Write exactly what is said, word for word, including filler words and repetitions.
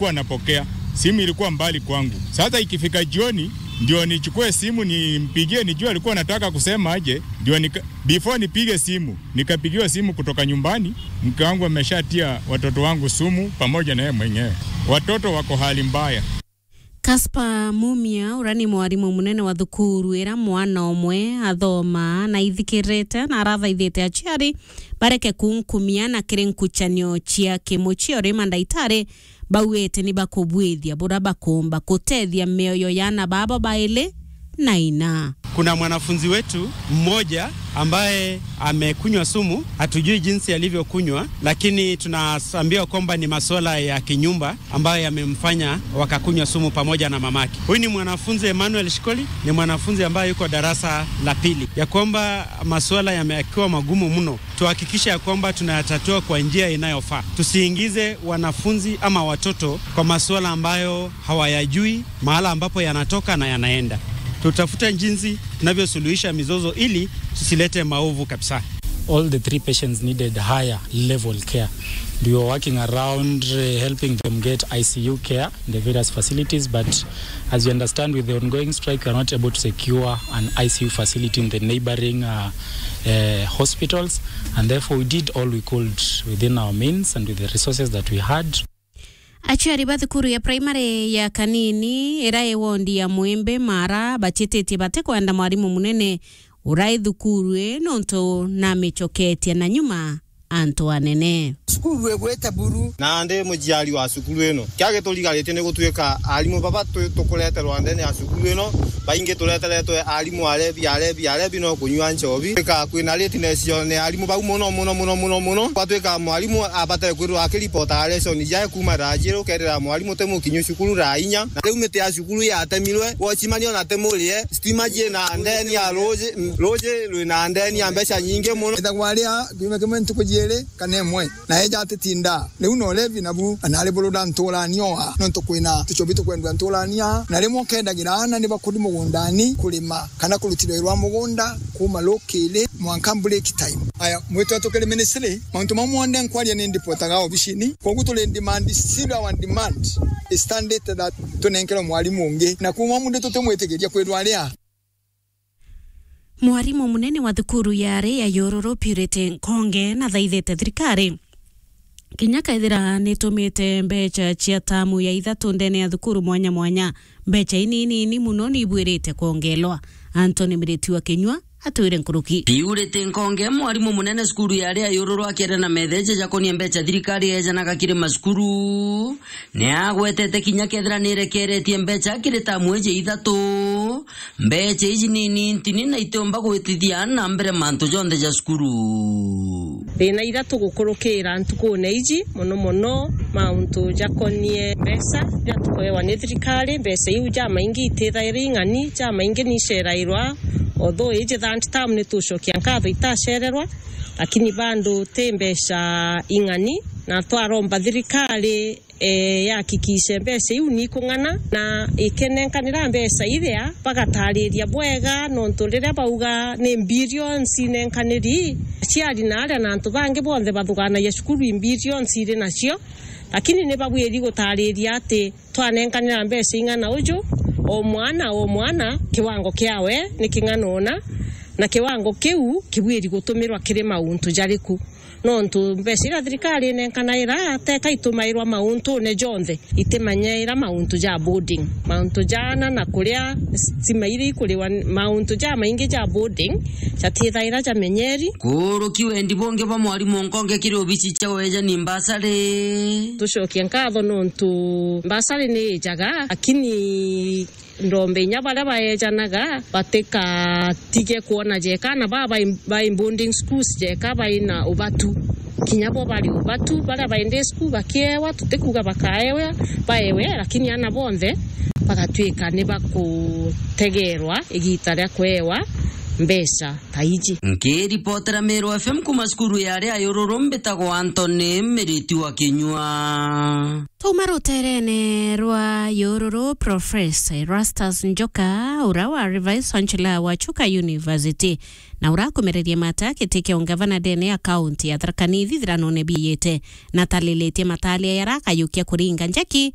Kuwa napokea. Simu ilikuwa mbali kwangu. Sasa ikifika jioni, ndio nichukue simu nimpigie, nijue alikuwa anataka kusema aje, ndio nika-, before nipige simu, nikapigiwa simu kutoka nyumbani, mke wangu ameshatia watoto wangu sumu pamoja na yeye mwenyewe. Watoto wako hali mbaya. Caspar Mumia, uria ni mwarimu munene wa thukuru iria mwana umwe athomaa, na ithikirite na arathaithite aciari bareke kunkumia na kiri nkuchanio cia kimuchie, uri mandaitari bauite ni bakubwithia buria bakumba kutethia mioyo ya ana babo baili na ina. Kuna mwanafunzi wetu mmoja ambaye amekunywa sumu, hatujui jinsi alivyokunywa, lakini tunaambiwa kwamba ni masuala ya kinyumba ambayo yamemfanya wakakunywa sumu pamoja na mamake. Huyu ni mwanafunzi Emmanuel Shikoli, ni mwanafunzi ambaye yuko darasa la pili, ya kwamba masuala yamekiwa magumu mno. Tuhakikishe ya kwamba tunayatatua kwa njia inayofaa. Tusiingize wanafunzi ama watoto kwa masuala ambayo hawayajui, mahala ambapo yanatoka na yanaenda. Tutafute jinsi tunavyosuluhisha mizozo ili tusilete maovu kabisa. All the three patients needed higher level care. We were working around, uh, helping them get I C U care in the various facilities, but as you understand, with the ongoing strike, we are not able to secure an I C U facility in the neighboring, uh, uh, hospitals, and therefore we did all we could within our means and with the resources that we had. Aciari ba thukuru ya primary ya Kanini, iria i wondi ya Mwimbi Mara, bachititie batikwenda mwarimu munene uria i thukuru ii, nontu namichoketie na nyuma antu anene. Cukuru igwite buru. Nandi muciari wa cukuru ino, kia giturigarite ni gutuika arimu baba tu-, tukureterwa ndene ya cukuru ino, baingi tureteretwe arimu arebi, arebi, arebi no kunyua nchobi. Tuika kwina lateness yo ni arimu bau muno, muno, muno, muno, muno. Gwatuika mwarimu abatare kwirwa akiripota lesson jae kuuma thaa jiiri ukeethira mwarimu ti mukinyu cukuru thaa inya. Na riu miti ya cukuru yatemirwe, watchman ona ti murie, stima ciina ndeni ya ruji, ruji rwina ndeni ya mbeca nyingi muno. Ethagwa aria kiumia kimwe ntuku jiiri kana imwe, na eja atitinda. Riu no levi nabu, na ari buruda nturania oa, nontu kwina tuchobi tukwendwa nturania, na rimwe ukendagira aana ni bakuri mugundani kurima kana kurutira wira wa mugunda kuuma rukiri mwanka break time. Aya, mwitwa tukiri ministry, mauntu mau monthe nkwaria ni ndipotaga obicini, kwogu turi in demand, still our demand is standard that tunenkerwe mwarimu ungi, na kuuma mundu tutimwitikiria kwirwa aria. Mwarimu munene wa thukuru ya ari ya Yururu, Purity Nkonge, nathaithite thirikari kinya kethira nitumite mbecha cia tamu ya ithatu ndene ya thukuru mwanya mwanya, mbecha ininini muno niibwirite kwongelwa. Anthony Miriti wa Kinyua atwire nkuruki. Purity Nkonge, mwarimu munene cukuru ya ari ya Yururu, akiaria na metheja jakonie mbecha thirikari ejanaga kiri macukuru, ni agwetete kinya kethira nirekeretie mbecha kiri tamu iji ithatu, mbecha iji ni nini ntini na itiumba gwitithia na mbere mantu jonthe ja cukuru. Thina iria tugukurukira ntukune iji, mono mono mauntu jakonie mbeca iria tukuewa ni thirikari. Mbeca iu jamaingi itithaira ing'ani, jamaingi ni icerairwa, although iji third term ni tucokia nkatho itacererwa, lakini bado ti mbeca ing'ani, na twaromba thirikari eh, yahakikishe mbeca iu ni ikung'ana, na ikenenkanira mbeca iria, bagatariria bwega, nontu riria bauga ni billions inenkaniri, aciari na aria na antu bangi bonthe bathuganagia cukuru i billions iri nacio, lakini ni babwiri gutariria ati twanenkanira mbeca ing'ana uju, o mwana, o mwana, kiwango kiawe ni king'ana una, na kiwango kiu kibwiri gutumirwa kiri mauntu jariku. Nontu mbeca iria thirikari inenkanaira teka itumairwa mauntune jonthe, itimanyaira mauntu ja boarding, mauntu ja ana na kuria, stima iria ikuriwa, mauntu jamaingi ja boarding jatithaira jamenyeri. Kuruki wendi bungi bwa mwarimu Nkonge kiri obici cia wejani mbasari. Tucokie nkatho nontu mbasari ni ijaga, lakini ndombe inya baria baejanaga batikatige kwona jeka ana baa bai, bai boarding schools jeka baina ubatu. Kinya bo bari ubatu, baria bai day school bakiewa, tutikuga bakaewa, baewe, lakini ana bonthe bagatuika ni bakutegerwa igita ria kuewa mbeca ta iji. Nkiripotera Meru F M kuma cukuru ya aria ayururu, mbitagwa Anthony Miriti wa Kinyua. Tuma ruterene rwa yururu, Professor Erastus Njoka, ura wa Revice Chancellor wa Chuka University, na ura akumererie mata giti kia ungavana ndene ya kaunti ya Tharaka Nithi ithiranone biiyite, na atalilitie matalia yara akayukia kuringa njeki